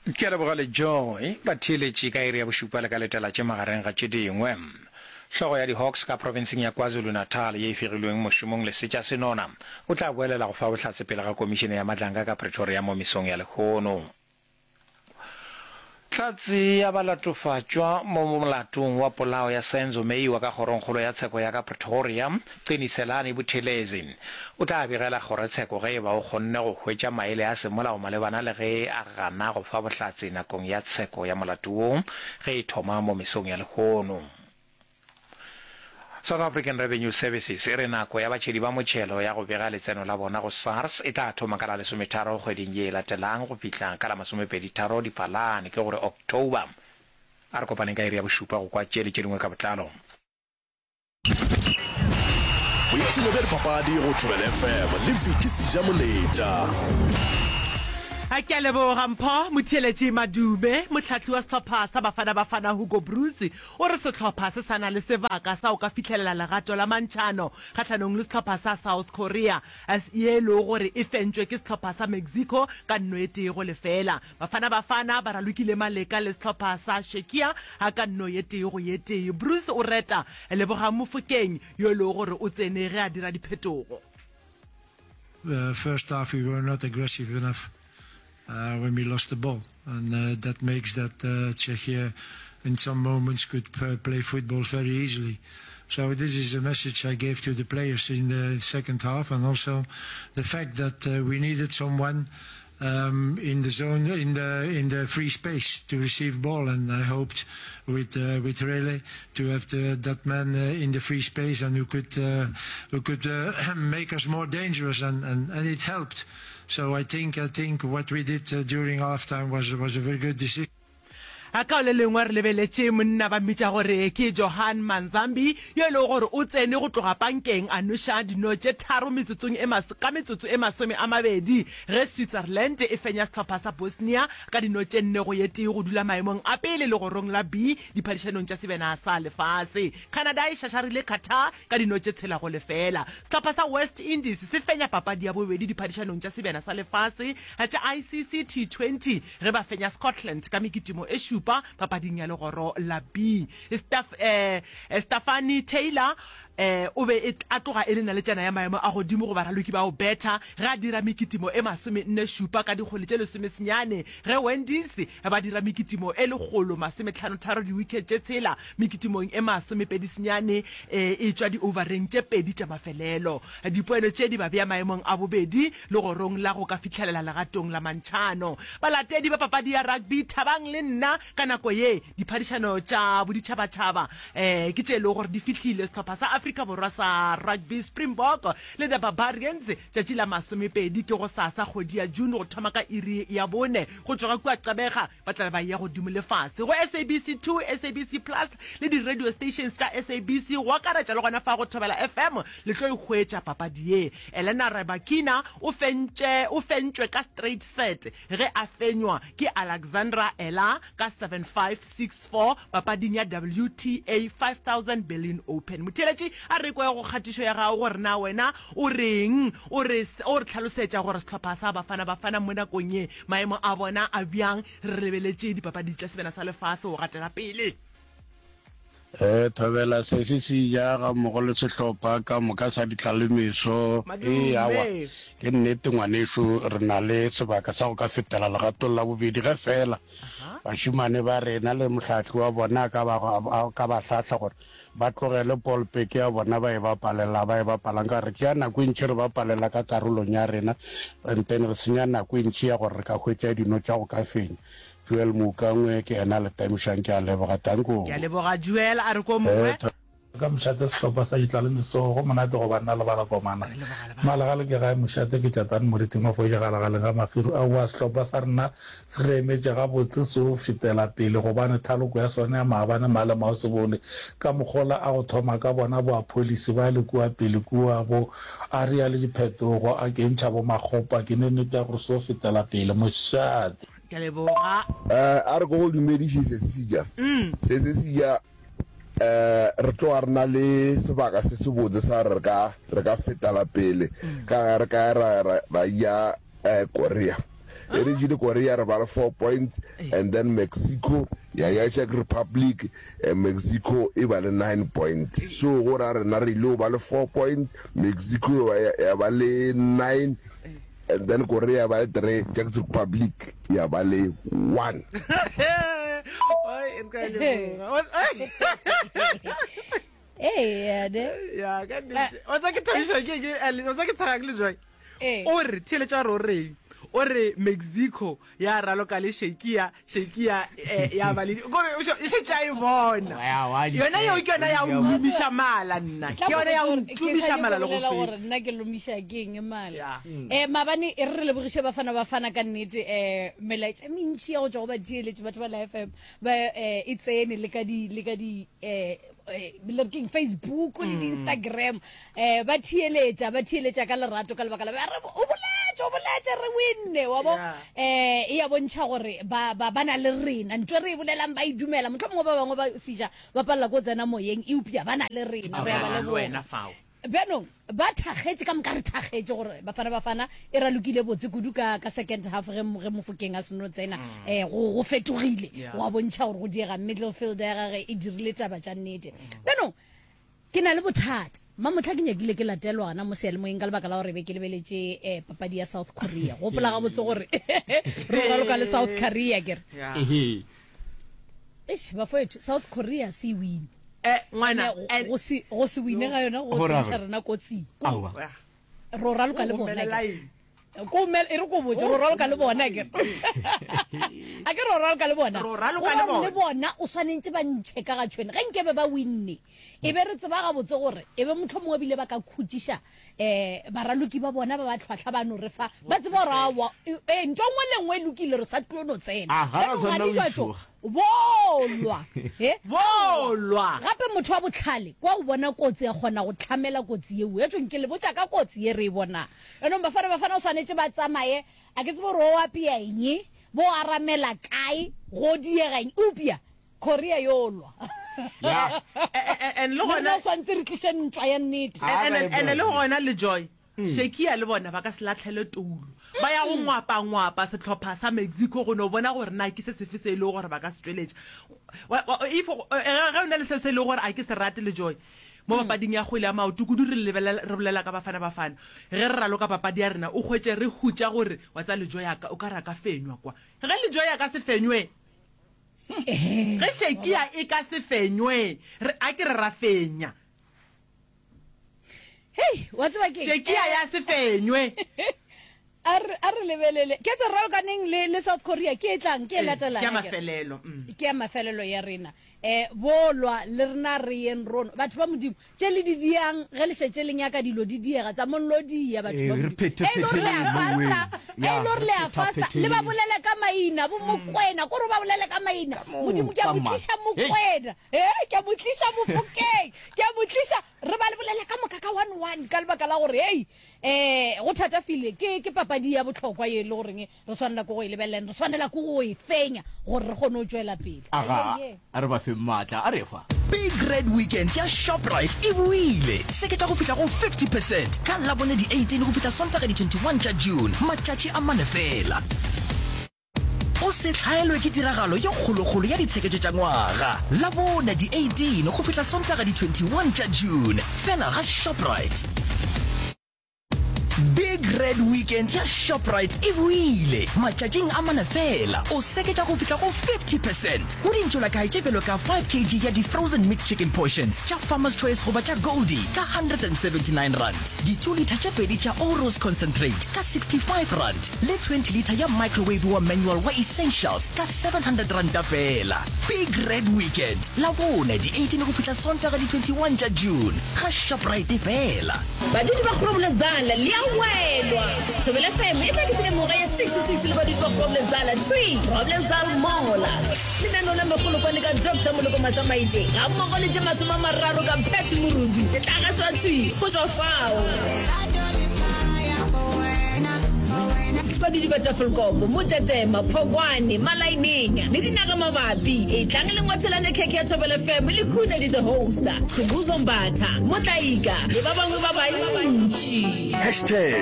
Ke a leboga le Joy. Batheeletši ka iri ya bošupa le ka letela tše magareng ga tše dingwe. Hlogo ya di-Hawks ka profenseng ya KwaZulu-Natal ye e fegilweng mošomong Lesetša Senona o tla boelela go fa bohlatse pele ga komišene ya Madlanga ka Pretoria mo mesong ya lehono. Hlatse ya balatofatšwa mo molatong wa polao ya Senzo Meyiwa ka Kgorongkgolo ya Tsheko ya ka Pretoria, Qiniselani Buthelezi, o tla begela kgorotsheko ge e ba o kgonne go hwetša maele a semolao malebana le ge a gana go fa bohlatse nakong ya tsheko ya molato wo ge e thoma mo mesong ya lehono. South African Revenue Services e re nako ya batšhedi ba motšhelo ya go bega letseno la bona go SARS e tla thoma ka la lesometharo kgweding ye e latelang go fihla ka la masomepeditharo Diphalane, ke gore October. A re kopaneng ka iri ya bošupa go kwa tše le tše dingwe ka botlalo. Boipshino bja dipapadi go Thobela FM le Vicky Sejamoletša. A ke a leboga Mpho Motheeletši Madume, mohlahli wa sehlopha sa Bafana Bafana Hugo Broos O re sehlopha se sa na le sebaka sa go ka fihlelela legato la mantšhano kgahlanong le sehlopha sa South Korea, ye e lego gore e fentšwe ke sehlopha sa Mexico ka nno e tee go lefeela. Bafana Bafana ba ralokile maleka le sehlopha sa Czechia ka nno ye tee go ye tee. Broos o reta Lebogang Mofokeng yo e lego gore o tsene ge a dira diphetogo. First half we were not aggressive enough. when we lost the ball and that makes that Czechia in some moments could play football very easily. So this is a message I gave to the players in the second half and also the fact that we needed someone um, in the zone, in the in the free space to receive ball, and I hoped with uh, with Rele to have the, that man uh, in the free space and who could uh, who could uh, make us more dangerous, and, and, and it helped. So I think I think what we did during half time was was a very good decision. A Ka le lengwe re lebeletše monna ba mmitša gore ke Johan Manzambi yo e lego gore o tsene go tloga pankeng a nweša dino tše tharo metsotsong e ka metsotso e 20 ge Switzerland e fenya sehlopha sa Bosnia ka dino tše nne go ye tee go dula maemong a pele legorong la B diphadišanong tša Sebjana sa Lefase. Canada e šašarile Qatar ka dino tše tshela go lefeela. Sehlopha sa West Indies se fenya papadi ya bobedi diphadišanong tša Sebjana sa Lefase tša ICC T20 ge ba fenya Scotland ka mekitimo e šupa papading ya legoro la B. Stafanie Taylor o be a tloga e le naletšana ya maemo a godimo go baraloki ba go betha ge a dira mekitimo e masomenne-šupa ka dikgwele tše lesomesenyane ge Wendies ba dira mekitimo e lekgolo-masometlhano-tharo diwikhet tše tshela Mekitimong e masomepedi-senyane e etšwa diouvareng tše pedi tša mafelelo. Dipoelo tše di ba bea maemong a bobedi legorong la go ka fihlelela legatong la mantšhano. Balatedi ba papadi ya rugby, thabang le nna ka nako ye. Diphadišano tša boditšhabatšhaba ke tše e lego gore di fihlile. Sehlopha sa Afrika Borwa sa rugby, Springbok le The Barbarians, tšatši la masomepedi ke gosasa kgwedi ya June go thoma ka iri ya bone go tšwa kua Gqeberha. Ba tla be ba eya godimo le fase go SABC 2, SABC Plus le di-radio stations tša SABC go akaretša le gona fa go Thobela FM le tlo e hwetša papadi ye. Elena Rybakina o fentše o fentšwe ka straight set ge a fenywa ke Alexandra Eala ka 7-5, 6-4 papading ya WTA 5000 Berlin Open. Motheeletši a re kwe go kgatišo ya gago gore na wena o reng o re o re hlalosetša gore sehlopha sa Bafana Bafana mo nakong ye Maemo a bona a bjang re lebeletše dipapadi tša Sebjana sa Lefase go gatela pele? Ee, Thobela sesi se ja ga mmogo le sehlopha ka moka sa ditlalemeso. Ee, awa, ke nnete ngwanešu, re na le sebaka sa go ka fetela legatong la bobedi ge feela bašemane ba rena le mohlahli wa bona a ka ba, a ka ba hlahla gore ba tlogele polpeke ya bona ba e bapalela ba e bapalang ka gore re tšea nako e ntši re bapalela ka karolong ya rena and then re senya nako e ntši ya gore re ka hwetša dino tša go ka fenya. Joel Moukangwe ke yena a le tamišang ke a leboga tanko. Ke a leboga Joel a re ko mongwe. Ka mošate sehlopha sa Ditlalemiso go monate go banna le balakomana. Malegale ke gae mošate ke tšatane moriting wa foile galagaleng ga mafiru aowa sehlopha sa rena se re emetše gabotse se o fetela pele gobane thaloko ya sona ya maabane male maosebole ka mokgola a go thoma ka bona bo Appollis ba le kua pele kua bo Aria le diphetogo a kentšha bo Makgopa ke ne nnete ya gore se o fetela pele mošate. Ke a leboga. Eh, a re ko go dumediše Sesija. Se Sesija, eh, re tloga re na le sebaka se sebotse sa gore re ka, re ka fetela pele ka ge re ka ra, ra, ra ya eh, Korea. E re jele Korea re ba le 4 points and then Mexico ya ya Czech Republic eh, Mexico e ba le 9 point. So go ra rena re ile go ba le 4 point, Mexico ya, ya ba le 9 and then Korea ya ba le 3, Czech Republic ya ba le 1. Oi, re ka leboga. Ee, ne. Ya, ka nnete. Wa tseba ke thabiša ke ke wa tseba ke tshega ke le Joy. Ee. O re theeletša gore o reng. O re Mexico ya raloka le Shekia, Shekia eh, ya ba le kore o e šetše a e bona. Ya, wa di Yona yeo ke yona ya Ke o lomiša mala nna. Ke yona ya o ntumiša mala le go gore feta. nna ke lomiša ke eng mala Ya. um maabane e re re lebogiše bafana bafana ka nnete um melaetša e mentši ya go tšwa go batheeletši batho ba la fm ba um e tsene le ka di le ka di um le re keng facebook le di-instagram um ba theeletša ba theeletša ka lerato ka lebaka la ba re o boletše o boletše re winne wa bo Yeah. um e ya bontšha gore ba ba ba na le rena ntho e re e bolelang ba e dumela motlho mongwe ba bangwe ba seja ba palela ko tsena moyeng eupša ba na le rena re a ba Le leboga wena fao. Bjanong, ba thakgetše, ka moka re thakgetše gore Bafana Bafana e ralokile botse kudu ka, ka second half ge, ge Mofokeng a seno tsena. Mm. Eh, go, go fetogile, Yeah. go a bontšha gore go diega midfield ya gage e dirile taba tša nnete. Bjanong, ke na le bothata. Mamohla ke nyakile ke latelwa gona mo seyalemoyeng ka lebaka la gore be ke lebeletše eh, papadi ya South Korea. Gopola gabotse gore re raloka le South Korea ke re. Yeah. Ehe. Eish, bafowethu, South Korea se e wine. Eh, ngwana, Ene, and- go se go se wine ga yona go Go ra tsentšha gore? rena kotsing. Aowa. Yeah. Ro raloka le O bona gomele ke. line. Ko mel e re ko botse ro raloka le bona ke. A ke ro raloka le bona. Ro raloka Go le ra bona. le bona o swanentse ba ntšhe ka ga tšhwene. Ge nkebe ba winne. E be re tseba gabotse gore e be mohlomongwe bile ba ka khutšiša eh baraloki ba bona ba ba tlhwatlhwa ba no re fa ba tseba gore aowa eh ntho nngwe le nngwe e lokile re sa tlilo no tsena Ah, ga ra Bjanong tshwanela ga go di tšwa tšo, itšhoga. bolwa he Bolwa. gape motho wa botlhale kwa o bona kotsi a kgona go tlhamela kotsi yeo ya tšong ke le botša ka kotsi ye re e bonang enong bafana bafana o swanetše ba tsamaye a ke tsebe gore o apea eng bo aramela kae go diega eng eupša Korea yo lwa. Ya. And le Le rena gona o swantse re tliše ntwa ya nnete. Ah, and ba e and le Brazil. gona le Joy Shekia le bona ba ka se latlhele toulo ba ya go ngwapa-ngwapa sehlopha sa Mexico go no bona gore na ke se sefe se e lego gore ba ka se tšweletša Wa- wa- if eh, ge o na le se se e lego gore a ke se rate le Joy mo papading ya kgwele ya maoto kudu re lebelela re bolela ka Bafana Bafana ge re raloka papadi ya rena o hwetše re hutša gore wa tseba le Joy a ka o ka re a ka fenywa kwa ge le Joy a ka se fenywe Ge Shekia e ka se fenywe, re, a ke re ra fenya. Hei, wa tseba ke Shekia ya se fenywe. A re a re lebelele. Ke tse ralokaneng le le South Korea ke e tlang, ke e latelang. Ke ya mafelelo. Mm. Ke ya mafelelo ya rena. Eh bolwa le rena re yeng rono. Batho ba Modimo, Tše le di diang ge le šetše le nyaka dilo di diega, tsa mong lo dia, batho ba Ee, re Modimo. Ge e le gore le a phethe-phetheleng mo fasta, weng. ge e Ya, le gore re le a fasta, le ba phetha-phetheleng. bolele ka maina, bo Mokwena, kore o ba bolele ka maina. Ka moo, Modimo, ke a ka mo mang. tliša Hei. Mokwena, ee, ke a mo tliša Mofokeng, ke a mo tliša, re ba le bolele ka moka ka one one, ka lebaka la gore, hei, um go thatafile, ke, ke papadi ya bohlokwa ye e le goreng Re swanela ke go e lebelela and re swanela ke go e fenya gore re kgone go tšwela pele. Aga, Ee. a re ba feng maatla, a re fa. Big Red Weekend ya Shoprite e boile! Seketša go fihla go 50 percent ka Labone di 18 go fihla Sontaga di 21 tša June, matšatši a mane feela. O se hlaelwe ke tiragalo ye kgolokgolo ya ditsheketšo tša ngwaga, Labone di 18 go fihla Sontaga di 21 tša June, fela ga Shoprite. Big Red Weekend ya Shoprite e boile! Matšatšing a mane feela, o seketša go fihla go 50 percent go dintšolakae tše bjalo ka 5 kg ya di-frozen mixed chicken portions tša Farmer's Choice goba tša Goldie ka R179, di-two litre tše pedi tša Oros concentrate ka R65 le 20 litre ya microwave wa manual wa Essentials ka R700 feela. Big Red Weekend, Labone di 18 go fihla Sontaga di 21 tša June, ga Shoprite feela. Badudi ba Groblersdal le a welwa! Thobela FM e tla keteka mengwaga ye 66 le badudi ba Groblersdal thwi Groblersdal Mall. Lenaneo la Megolokwane ka Doctor Moloko Mashamaite gammogo le tše 30 ka Pat Morudu e tla gašwa thwi go tšwa fao. Badudi ba Tafelkop, Motetema, Phokwane, Malaineng le dinagamabapi, etlang le ngwathelane khekhe ya Thobela FM le Khunedi the Host, Skhumbuzo Mbatha, Motlaika le ba bangwe ba bantši. Hashtag.